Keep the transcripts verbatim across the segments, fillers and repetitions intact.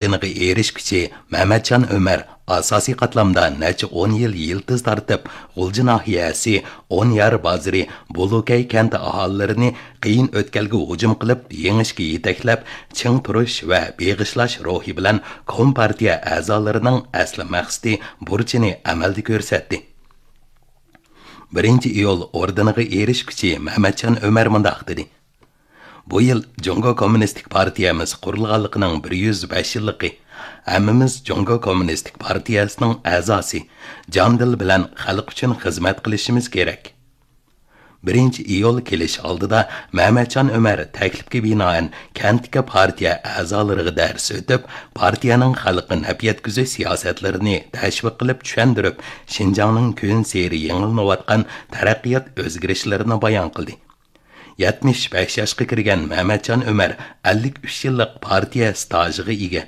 ئورنىغا ئېرىشكۈچى مەمەتجان ئۆمەر ئاساسىي قاتلامدا نەچچە ئون يىل يىلتىز تارتىپ، غۇلجا ناھىيەسى ئونيار بازىرى بولۇكەي كەنتى ئاھالىلىرىنى قىيىن ئۆتكەلگە ھۇجۇم قىلىپ، يېڭىشكە يېتەكلەپ، چىڭ تۇرۇش ۋە بېغىشلاش روھى بىلەن كومپارتىيە ئەزالىرىنىڭ ئەسلى مەقسىتى، بۇرچىنى ئەمەلدە كۆرسەتتى. بىرىنچى ئىيۇل ئوردېنىغا ئېرىشكۈچى مەمەتجان ئۆمەر مۇنداق دېدى: بۇ يىل جۇڭگو كوممۇنىستىك پارتىيەمىز قۇرۇلغانلىقىنىڭ بىر يۈز بەش يىللىقى. ھەممىمىز جۇڭگو كوممۇنىستىك پارتىيەسىنىڭ ئەزاسى، جان دىل بىلەن خەلق ئۈچۈن خىزمەت قىلىشىمىز كېرەك. بىرىنچى ئىيۇل كېلىش ئالدىدا مەمەتجان ئۆمەر تەكلىپكە بىنائەن كەنتتىكى پارتىيە ئەزالىرىغا دەرس ئۆتۈپ، پارتىيەنىڭ خەلققە نەپ يەتكۈزۈش سىياسەتلىرىنى تەشۋىق قىلىپ چۈشەندۈرۈپ، شىنجاڭنىڭ كۈنسېرى يېڭىلىنىۋاتقان تەرەققىيات ئۆزگىرىشلىرىنى بايان قىلدى. يەتمىش بەش ياشقا كىرگەن مەمەتجان ئۆمەر ئەللىك ئۈچ يىللىق پارتىيە ستاژىغا ئىگە.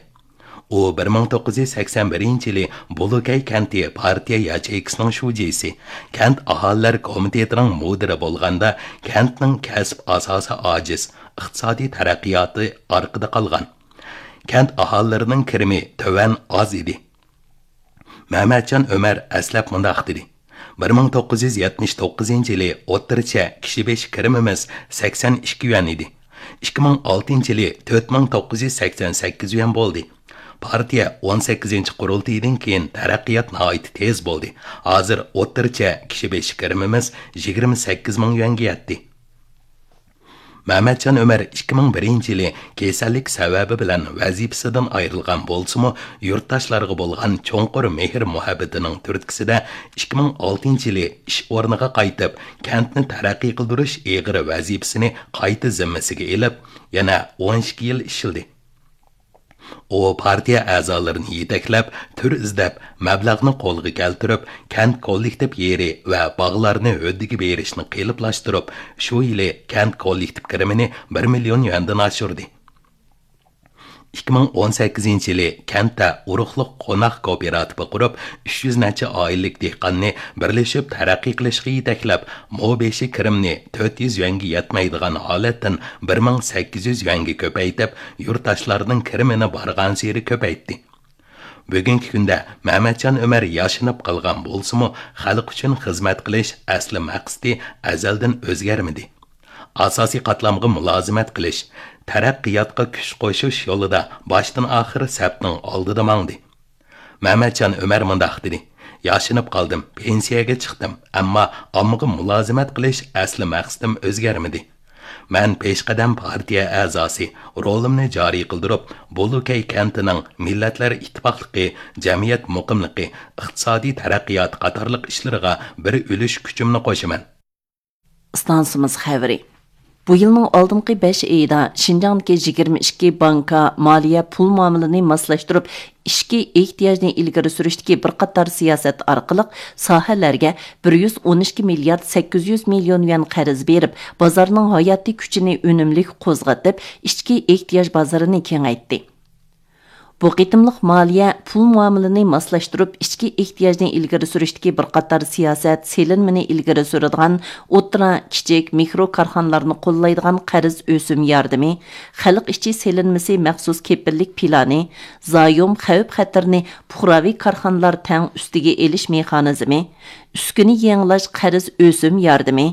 ئۇ بىر مىڭ توققۇز يۈز سەكسەن بىرىنچى يىلى بولۇكەي كەنتى پارتىيە ياچېيكىسىنىڭ شۇجىسى، كەنت ئاھالىلەر كومىتېتىنىڭ مۇدىرى بولغاندا، كەنتنىڭ كەسىپ ئاساسى ئاجىز، ئىقتىسادىي تەرەققىياتى ئارقىدا قالغان. كەنت ئاھالىلىرىنىڭ كىرىمى تۆۋەن، ئاز ئىدى. مەمەتجان ئۆمەر ئەسلەپ مۇنداق دېدى: بىر مىڭ توققۇز يۈز يەتمىش توققۇزىنچى يىلى ئوتتۇرىچە كىشى بېشى كىرىمىمىز سەكسەن ئىككى يۈەن ئىدى. ئىككى مىڭ ئالتىنچى يىلى تۆت مىڭ توققۇز يۈز سەكسەن سەككىز يۈەن بولدى. پارتىيە ئون سەككىزىنچى قۇرۇلتىيىدىن كېيىن تەرەققىيات ناھايىتى تېز بولدى. ھازىر ئوتتۇرىچە كىشى بېشى كىرىمىمىز يىگىرمە سەككىز مىڭ يۈەنگە يەتتى. مەمەتجان ئۆمەر ئىككى مىڭ بىرىنچى يىلى كېسەللىك سەۋەبى بىلەن ۋەزىپىسىدىن ئايرىلغان بولسىمۇ، يۇرتداشلارغا بولغان چوڭقۇر مېھىر-مۇھەببىتىنىڭ تۈرتكىسىدە، ئىككى مىڭ ئالتىنچى يىلى ئىش ئورنىغا قايتىپ، كەنتنى تەرەققىي قىلدۇرۇش ئېغىر ۋەزىپىسىنى قايتا زىممىسىگە ئېلىپ، يەنە ئون ئىككى يىل ئىشلىدى. ئۇ پارتىيە ئەزالىرىنى يېتەكلەپ، تۈر ئىزدەپ، مەبلەغنى قولغا كەلتۈرۈپ، كەنت كوللېكتىپ يېرى ۋە باغلارنى ھۆددىگە بېرىشنى قېلىپلاشتۇرۇپ، شۇ يىلى كەنت كوللېكتىپ كىرىمىنى بىر مىليون يۈەندىن ئاشۇردى. ئىككى مىڭ ئون سەككىزىنچى يىلى كەنتتە ئۇرۇقلۇق قوناق كوپىراتىپى قۇرۇپ، ئۈچ يۈز نەچچە ئائىلىلىك دېھقاننى بىرلىشىپ تەرەققىي قىلىشقا يېتەكلەپ، مو بېشى كىرىمنى تۆت يۈز يۈەنگە يەتمەيدىغان ھالەتتىن بىر مىڭ سەككىز يۈز يۈەنگە كۆپەيتىپ، يۇرتداشلارنىڭ كىرىمىنى بارغانسېرى كۆپەيتتى. بۈگۈنكى كۈندە مەمەتجان ئۆمەر ياشىنىپ قالغان بولسىمۇ، خەلق ئۈچۈن خىزمەت قىلىش ئەسلى مەقسىتى ئەزەلدىن ئۆزگەرمىدى. ئاساسىي قاتلامغا مۇلازىمەت قىلىش، تەرەققىياتقا كۈچ قوشۇش يولىدا باشتىن ئاخىر سەپنىڭ ئالدىدا ماڭدى. مەمەتجان ئۆمەر مۇنداق دېدى: ياشىنىپ قالدىم، پېنسىيەگە چىقتىم، ئەمما ئاممىغا مۇلازىمەت قىلىش ئەسلى مەقسىتىم ئۆزگەرمىدى. مەن پېشقەدەم پارتىيە ئەزاسى، رولۇمنى جارى قىلدۇرۇپ، بولۇكەي كەنتىنىڭ مىللەتلەر ئىتتىپاقلىقى، جەمئىيەت مۇقىملىقى، ئىقتىسادىي تەرەققىيات قاتارلىق ئىشلىرىغا بىر ئۈلۈش كۈچۈمنى قوشىمەن. ئىستانسىمىز خەۋىرى. بۇ يىلنىڭ ئالدىنقى بەش ئېيىدا شىنجاڭدىكى يىگىرمە ئىككى بانكا مالىيە پۇل مۇئامىلىنى ماسلاشتۇرۇپ، ئىچكى ئېھتىياجنى ئىلگىرى سۈرۈشتىكى بىر قاتار سىياسەت ئارقىلىق ساھەلەرگە بىر يۈز ئون ئىككى مىليارد سەككىز يۈز مىليون يۈەن قەرز بېرىپ، بازارنىڭ ھاياتىي كۈچىنى ئۈنۈملۈك قوزغىتىپ، ئىچكى ئېھتىياج بازىرىنى كېڭەيتتى. بۇ قېتىملىق مالىيە پۇل مۇئامىلىنى ماسلاشتۇرۇپ، ئىچكى ئېھتىياجنى ئىلگىرى سۈرۈشتىكى بىر قاتار سىياسەت سېلىنمىنى ئىلگىرى سۈرىدىغان ئوتتۇرا، كىچىك، مىكرو كارخانىلارنى قوللايدىغان قەرز ئۆسۈم ياردىمى، خەلق ئىچى سېلىنمىسى مەخسۇس كېپىللىك پىلانى، زايوم خەۋپ خەتىرىنى پۇقراۋى كارخانىلار تەڭ ئۈستىگە ئېلىش مېخانىزمى، ئۈسكۈنە يېڭىلاش قەرز ئۆسۈم ياردىمى،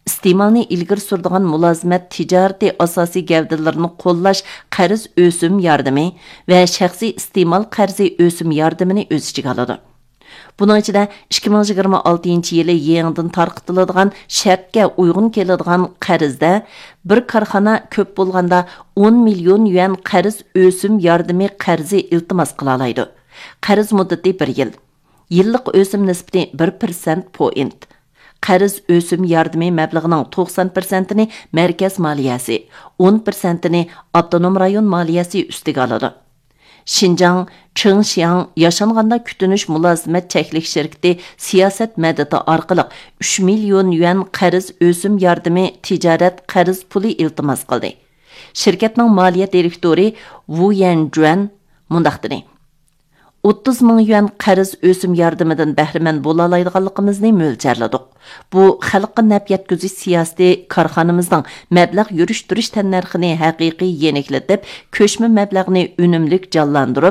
ئىستېمالنى ئىلگىرى سۈرىدىغان مۇلازىمەت تىجارىتى ئاساسىي گەۋدىلىرىنى قوللاش قەرز ئۆسۈم ياردىمى ۋە شەخسىي ئىستېمال قەرزى ئۆسۈم ياردىمىنى ئۆز ئىچىگە ئالىدۇ. بۇنىڭ ئىچىدە ئىككى مىڭ يىگىرمە ئالتىنچى يىلى يېڭىدىن تارقىتىلىدىغان شەرتكە ئۇيغۇن كېلىدىغان قەرزدە بىر كارخانا كۆپ بولغاندا ئون مىليون يۈەن قەرز ئۆسۈم ياردىمى قەرزى ئىلتىماس قىلالايدۇ. قەرز مۇددىتى بىر يىل. يىللىق ئۆسۈم نىسبىتى بىر پىرسەنت پوئىنت. قەرز ئۆسۈم ياردىمى مەبلىغىنىڭ توقسان پىرسەنتىنى مەركەز مالىيەسى، ئون پىرسەنتىنى ئاپتونوم رايون مالىيەسى ئۈستىگە ئالىدۇ. شىنجاڭ چېڭشياڭ ياشانغاندا كۈتۈنۈش مۇلازىمەت چەكلىك شىركىتى سىياسەت مەدىتى ئارقىلىق ئۈچ مىليون يۈەن قەرز ئۆسۈم ياردىمى تىجارەت قەرز پۇلى ئىلتىماس قىلدى. شىركەتنىڭ مالىيە دىرېكتورى ۋۇ يەنجۈەن مۇنداق دېدى: ئوتتۇز مىڭ يۈەن قەرز ئۆسۈم ياردىمىدىن بەھرىمەن بولالايدىغانلىقىمىزنى مۆلچەرلىدۇق. بۇ خەلققە نەپ يەتكۈزۈش سىياسىتى كارخانىمىزنىڭ مەبلەغ يۈرۈشتۈرۈش تەننەرخىنى ھەقىقىي يېنىكلىتىپ، كۆچمە مەبلەغنى ئۈنۈملۈك جانلاندۇرۇپ،